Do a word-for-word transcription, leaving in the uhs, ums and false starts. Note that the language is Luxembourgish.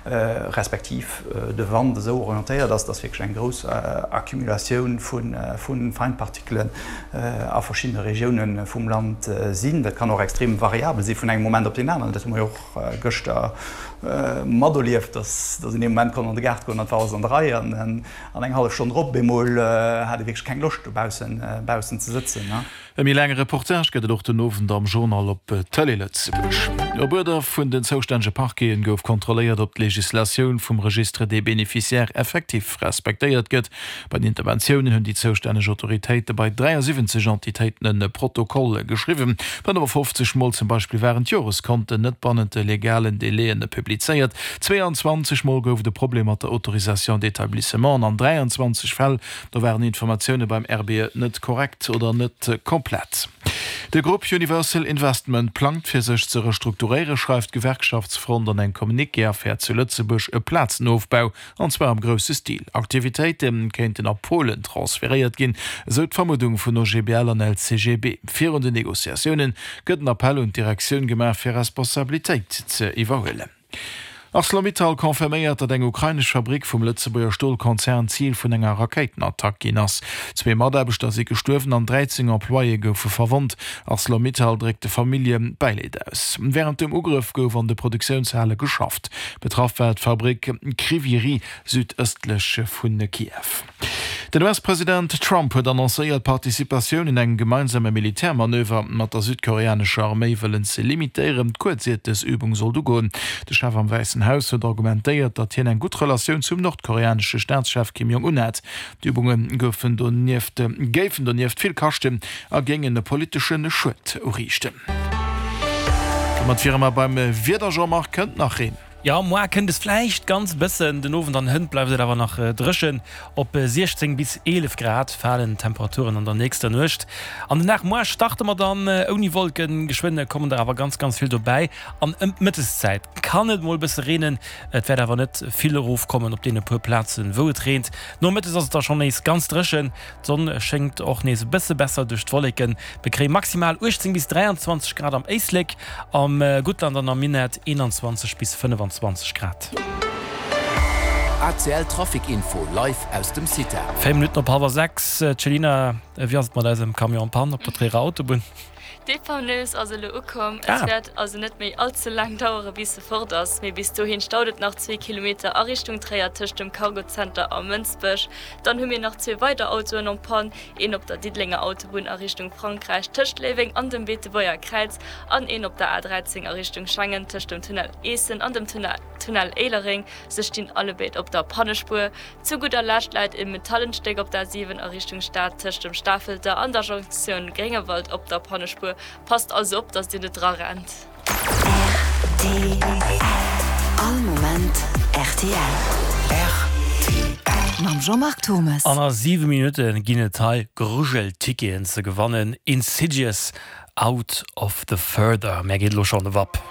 respektiv de Wand esou orientéiert ass, dass wierklech eng grouss Accumulatioun vu Feinpartikelen a verschiddene Regioune vum Land sinn. Dat kann och extrem variabel si vun engem Moment op deen aneren. Dat hu mer jo och gëschter materlieft, dass een ee Moment konnt an de Gaart goen an et war alles an der Rei an eng hallef Stonn drop op eemol hat ee wierklech keng Loscht dobaussen baussen ze sëtzen. E méi laange Reportage gëtt et och den Owend am Journal op Tëlee Lëtzebuerg. Op Uerder vun den zoustännege Parqueten gouf kontrolléiert, ob d'Legislatioun vum Registre des bénéficiaires effectifs respektéiert gëtt. Bei den Interventiounen hunn déi zoustänneg Autoritéite bei dräiasiwwenzeg Entitéiten e Protokoll geschriwwen. fënnefafofzeg Mol zum Beispill waren d'Joreskonten net bannent de legalen Delaien publizéiert, zweeanzwanzeg Mol gouf et e Problem mat der Autorisation d'établissement an an dräianzwanzeg Fäll do waren Informatioune beim R B E net korrekt oder net komplett. De Grupp Universal Investment plangt fir sech ze restrukturéieren, schreift d'Gewerkschaftsfront an engem Communiqué a fäert zu Lëtzebuerg e Plazenofbau, an zwar am grousse Stil. Aktivitéite kéinten a Polen transferéiert ginn, esou d'Vermuddung vun O G B L an L C G B. Virun den Negociatioune gëtt en Appell un d'Direktioun gemaach fir Responsabilitéit ze iwwerhuelen. Arcelor-Mittal confirméiert, datt eng ukrainesch Fabrick vum Lëtzebuerger Stolkonzern Zil vun enger Rakéitenattack ginn ass. Zwee Mataarbechter si gestuerwen an dräizéng Employéë goufe verwonnt. Arcelor-Mittal dréckt de Famillje Bäileed aus. Wärend dem Ugrëff gouf an de Produktiounshale geschafft. Betraff war d'Fabrick Kryvyi Rih südëstlech vu Kiew. Den U S-President Trump huet annoncéiert, d'Participatioun un engem gemeinsame Militärmanöver mat der südkoreanescher Arméi wëllen ze limitéieren. Kuerz iert dës Übung sollt ugoen. De Chef am Wäissen Haus huet argumentéiert, datt hien eng gutt Relatioun zum nordkoreanesche Staatschef Kim Jong-un hätt. D'Übunge goufen donieft géifen donieft vill kaschten a géingen e politesche Schued uriichten. Domat wiere mer beim Wieder, Jean-Marc, kënnt nach Reen? Jo, muer kënnt es vläicht ganz bëssen, den Owend an hënt bleift et awer nach dréchen. Op siechzéng bis eelef Grad falen d'Temperaturen an der nächster Nuecht. An den Dag muer starte mer dann ouni Wollken, geschwënn kommen der awer ganz ganz vill dobäi an ëm d'Mëtteszäit kann et mol bësse reenen. Et wäert awer net vill erofkommen op deene puer Plazen, wou et reent. Nomëttes ass et da schonn nees ganz dréchen, d'Sonn schéngt och nees e bësse besser duerch d'Wolleken. Mir kréie maximal uechtzéng bis dräianzwanzeg Grad am Éislek, am Guttland an am Minett eenanzwanzeg bis fënnefanzwanzeg Grad. A C L Trafic Info live aus dem CITA. Véier Minutten op hallwer sechs. Céline, wéi ass et mat eisem Camion en panne op der Tréierer Autobunn? D'Dépanneuse ass elo ukomm. Et wäert also net méi all ze laang dauere bis se fort ass, mee bis dohin staut et nach zwee Kilometer a Richtung Tréier tëscht dem Cargozenter a Mënsbech. Dann hu mir nach zwee weider Autoen en panne, een op der Diddelenger Autobunn a Richtung Frankräich tëscht Léiweng an dem Beetebuerger Kräiz an een op der A dräizéng a Richtung Schengen tëscht dem Tunnel Eessen an dem Tunnel Éilereng. Se stinn allebéid op der Pannespuer. Zu gudder Lescht läit e Metallenstéck op der A siwen a Richtung Stad tëscht dem Stafelter an der Jonktioun Gréngewald op der Pannespuer. Passt also op, dass Dir net dra rennt. R T L. All Moment R T L. R T L. Mam Jean-Marc Thomas. An a siwe Minutte ginn et hei Grujelticketen ze gewannen. Insidious, Out of the Further. Mär geet elo schonn de Wapp.